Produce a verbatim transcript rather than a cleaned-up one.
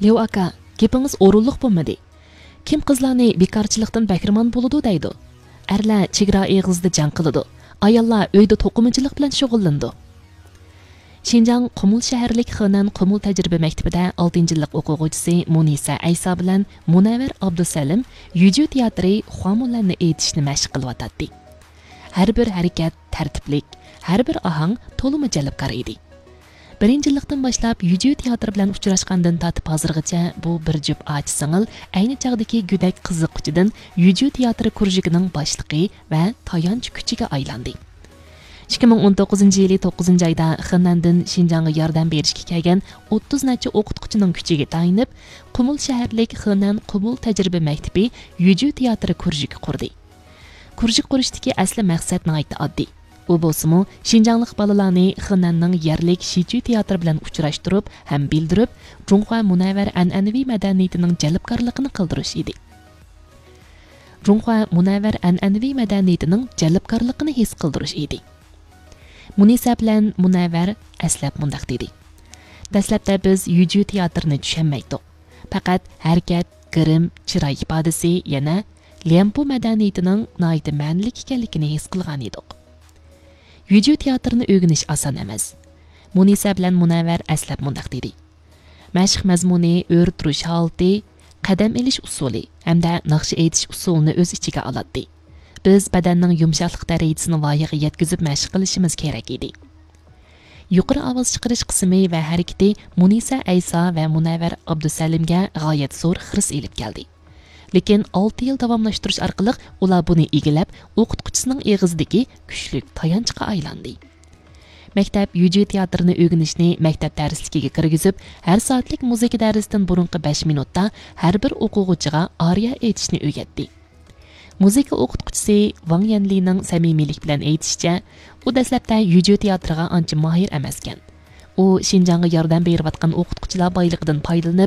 ليۇ ئاكا، گېپىڭىز ئورۇنلۇق بولمىدى. كىم قىزلارنى بىكارچىلىقتىن بەھرىمەن بولىدۇ دەيدۇ؟ ئەرلەر چېگرا ئېغىزىدا جەڭ قىلىدۇ، ئاياللار ئۆيدە توقۇمىچىلىق بىلەن شۇغۇللىنىدۇ. شىنجاڭ قۇمۇل شەھەرلىك خېنەن قۇمۇل تەجرىبە مەكتىپىدە ئالتىنچى يىللىق ئوقۇغۇچىسى مۇنىسە ئەيسا بىلەن مۇنەۋۋەر ئابدۇسەلىم يۈجۈ تىياتىرى خۇامۇلەننى ئېيتىشنى مەشىق قىلىۋاتاتتى. ھەر بىر ھەرىكەت تەرتىپلىك، ھەر بىر ئاھاڭ تولىمۇ جەلپكار ئىدى. بىرىنچى يىللىقتىن باشلاپ يۈجۈ تىياتىرى بىلەن ئۇچراشقاندىن تارتىپ ھازىرغىچە بۇ بىر جۈپ ئاچا سىڭىل ئەينى چاغدىكى گۆدەك قىزىققۇچىدىن يۈجۈ تىياتىرى كۇرژۇكىنىڭ باشلىقى ۋە تايانچ كۈچىگە ئايلاندى. ئىككى مىڭ ئون توققۇزىنچى يىلى توققۇزىنچى ئايدا خېنەندىن شىنجاڭغا ياردەم بېرىشكە كەلگەن ئوتتۇز نەچچە ئوقۇتقۇچىنىڭ كۈچىگە تايىنىپ، قۇمۇل شەھەرلىك خېنەن قۇمۇل تەجرىبە مەكتىپى يۈجۈ تىياتىرى كۇرژۇكى قۇردى. كۇرژۇك قۇرۇشتىكى ئەسلى مەقسەت ناھايىتى ئاددىي. ئۇ بولسىمۇ، شىنجاڭلىق بالىلارنى خېنەننىڭ يەرلىك شىچۈ تىياتىرى بىلەن ئۇچراشتۇرۇپ ھەم بىلدۈرۈپ، جۇڭخۇا مۇنەۋۋەر ئەنئەنىۋى مەدەنىيىتىنىڭ جەلپكارلىقىنى قىلدۇرۇش ئىدى. جۇڭخۇا مۇنەۋۋەر ئەنئەنىۋى مەدەنىيىتىنىڭ جەلپكارلىقىنى ھېس قىلدۇرۇش ئىدى. مۇنىسە بىلەن مۇنەۋۋەر ئەسلەپ مۇنداق دېدى: دەسلەپتە بىز يۈجۈ تىياتىرىنى چۈشەنمەيتتۇق. پەقەت ھەرىكەت، گىرىم، چىراي ئىپادىسى، يەنە ليەنپۇ مەدەنىيىتىنىڭ ناھايىتى مەنىلىك ئىكەنلىكىنى ھېس قىلغانىدۇق. يۈجۈ تىياتىرىنى ئۆگىنىش ئاسان ئەمەس. مۇنىسە بىلەن مۇنەۋۋەر ئەسلەپ مۇنداق دېدى: مەشىق مەزمۇنى، ئۆرە تۇرۇش ھالىتى، قەدەم ئېلىش ئۇسۇلى ھەمدە ناخشا ئېيتىش ئۇسۇلىنى ئۆز ئىچىگە ئالاتتى. بىز بەدەننىڭ يۇمشاقلىق دەرىجىسىنى ۋايىغا يەتكۈزۈپ مەشىق قىلىشىمىز كېرەك ئىدى. يۇقىرى ئاۋاز چىقىرىش قىسمى ۋە ھەرىكىتى مۇنىسە ئەيسا ۋە مۇنەۋۋەر ئابدۇسەلىمگە غايەت زور خىرىس ئېلىپ كەلدى. لېكىن ئالتە يىل داۋاملاشتۇرۇش ئارقىلىق ئۇلار بۇنى ئىگىلەپ، ئوقۇتقۇچىسىنىڭ ئېغىزىدىكى كۈچلۈك تايانچقا ئايلاندى. مەكتەپ يۈجۈ تىياتىرىنى ئۆگىنىشنى مەكتەپ دەرسلىكىگە كىرگۈزۈپ، ھەر سائەتلىك مۇزىكا دەرسىدىن بۇرۇنقى بەش مىنۇتتا ھەر بىر ئوقۇغۇچىغا ئارىيە ئېيتىشنى ئۆگەتتى. مۇزىكا ئوقۇتقۇچىسى ۋاڭ يەنلىنىڭ سەمىمىيلىك بىلەن ئېيتىشىچە، ئۇ دەسلەپتە يۈجۈ تىياتىرىغا ئانچە ماھىر ئەمەسكەن. ئۇ شىنجاڭغا ياردەم بېرىۋاتقان ئوقۇتقۇچىلار بايلىقىدىن پايدىلىنىپ،